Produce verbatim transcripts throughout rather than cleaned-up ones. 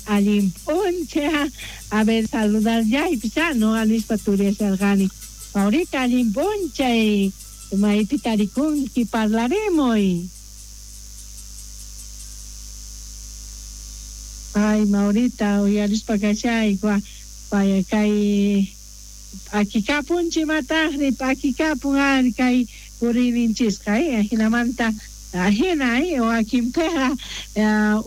Allin p'unchay, a ver, saludar ya y ya no anispa turiasharqani. Maurita, allin p'unchay, maypi tarikunki parlaremuy. Ay, Maurita, uyarispa kashayku, vaya kay p'akikapunchik mataqri, p'akikapun ari kay puriyninchisqa, eh, ajinamanta ajina, eh, wakinpiqa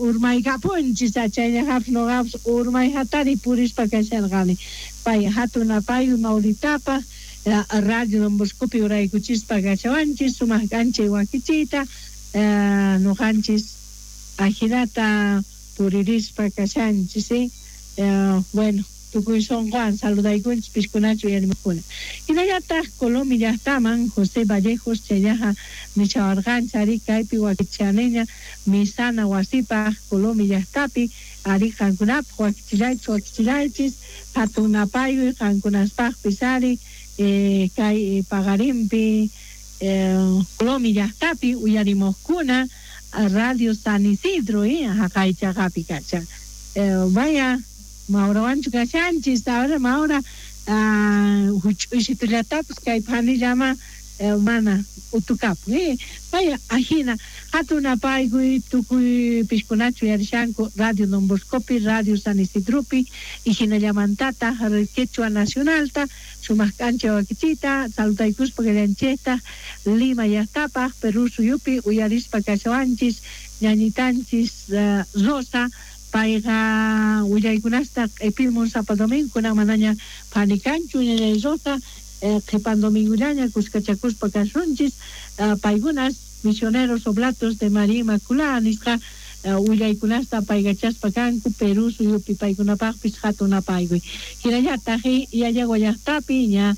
urmaykapunchis, chayllaqapis nuqapis urmay hatari purispa kasharqani. Pay hatun apayuy Mauritapaq, Radio Don Boscopi uraykuchispa kashawanchis, sumaq k'anchay wakichiyta, nuqanchis ajinata puririspa kashanchis, eh, bueno, tukuy sunquwan saludaykunchis pishkunachu uyarimuqkuna. Hinallataq Colomi llaqtaman José Vallejos chayllaqa nishawarqanchis ari kaypi wakichaniña misana wasipaq Colomi llaqtapi ari qankunapaq wakichillaychis wakichillaychis hatun napayuy qankunaspaqpis ari eh, kay paqarinpi eh, Colomi llaqtapi uyarimuqkuna Radio San Isidro, eh, haqay chaqapi kashan. Eh, vaya Maurawanchu kashanchis, ahora Maura huch'uysitullatapis kay phanillama mana utukapun, eh, vaya ajina hatun apaykuy tukuy pishkunachu uyarishanku Radio Don Boscopi, Radio San Isidropi y hinallamantataq Quechua Nacionalta sumaq k'anchay wakichiyta saludaykuspa kallanchikta Lima llaqtapaq Perú suyupi uyarispa kashawanchis ñañitanchis Rosa payqa willaykunasta q'ipimun sapa domingo kunan manaña phanikanchu ñañay Rosa qhipan domingullaña kuskachakuspa kasunchis paykunas misioneros oblatos de María Inmaculada nisqa willaykunasta paykachaspa kanku Perú suyupi paykunapaqpis hatun apaykuy. Hinallataq Yayagua llaqtapi ña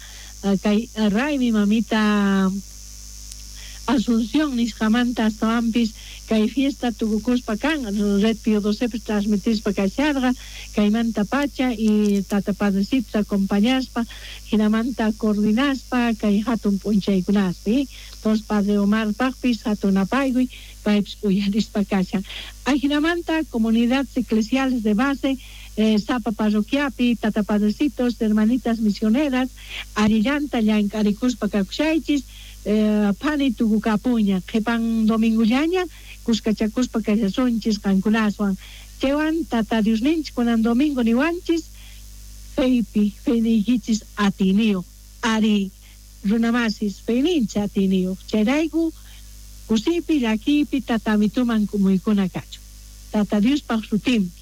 kay raymi mamita Asunción nisqamanta astawanpis kay fiesta tukukuspa kan Red Pío doce transmitispa kasharqa kaymanta pacha y tata padrecitos acompañaspa hinamanta coordinaspa kay hatun p'unchaykunaspi entonces padre Omar paqpis hatun apaykuy paypis uyarispa kashan. Ajinamanta comunidades eclesiales de base eh, sapa parroquiapi tata padrecitos hermanitas misioneras allillanta llank'arikuspa kakushaychis eh, phani tukukapuña qhipan domingullaña kuskachakuspa kashasunchis qankunaswan chaywan tata Diosninchis kunan domingo niwanchis feypi feyniykichis atiniyuq ari runamasis feyninchis atiniyuq chayrayku kusipi llakiypi tatamituman kumuykuna kachun tata Diospaq sutinpi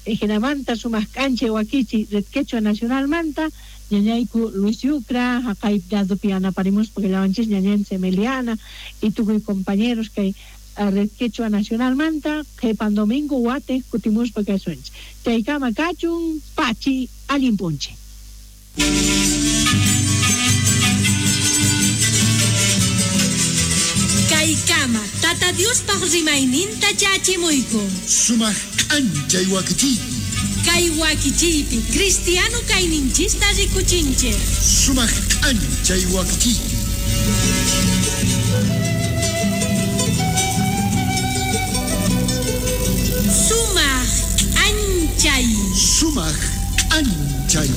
hinamanta sumaq k'anchay wakichi Red Quechua Nacionalmanta ñañayku Luis Yucra haqay ladopi yanaparimuspa kallawanchis ñañanchis Emiliana y tukuy compañeros kay Red Quechua Nacionalmanta qhipan domingo watiq kutimuspa kasunchis chaykama kachun pachi allin p'unchay. Kaykama tata Diospaq rimayninta chachimuyku sumaq k'anchay wakichiypi kay wakichiypi cristiano kayninchista rikuchinchik sumaq k'anchay wakichiypi. Sumaq k'anchay sumaq k'anchay.